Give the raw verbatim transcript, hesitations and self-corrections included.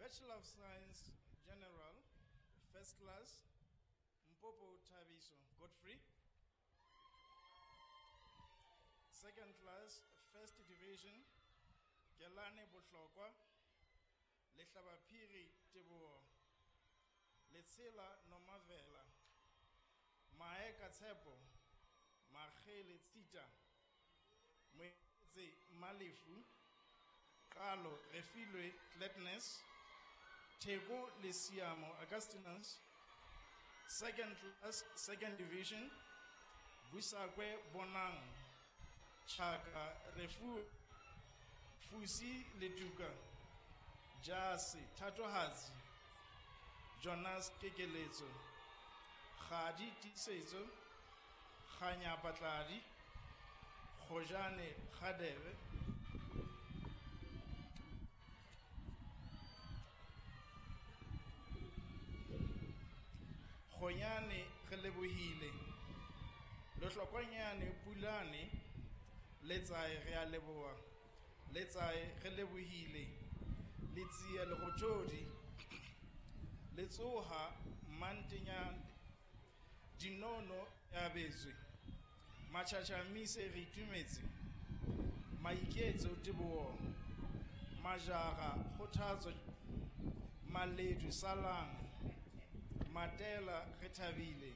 Bachelor of Science General, First Class, Mpopo Thabiso Godfrey. Second Class, First Division, Kelane Bohlokwa, Lehlabaphiri Teboho, Letsela Nomavela, Maeka Tshepo, Makgele Tsita, Moetse Malefu, Qalo Refilwe Gladness, Theko Lesiamo Augustinus, Second Class, Second Division, Busakwe Bonang, Chaka Refu, Fusi Letuka, Jase Thatohatsi, Jonas Kekeletso, Kgadi Tiisetso, Kganya Patladi, Kgojane Kgadebe, Kgonyane Relebohile, Lehlokwanyane Pulane, Letsae re a leboha, Letsae re lebohile, Letsie Lerothodi, Letsoha Mantenyane, Dinono ya betswe, Machachamishe re itumetse, Maiketso Teboho, Majara Kgothatso, Maledu Salang, Matela re thabile,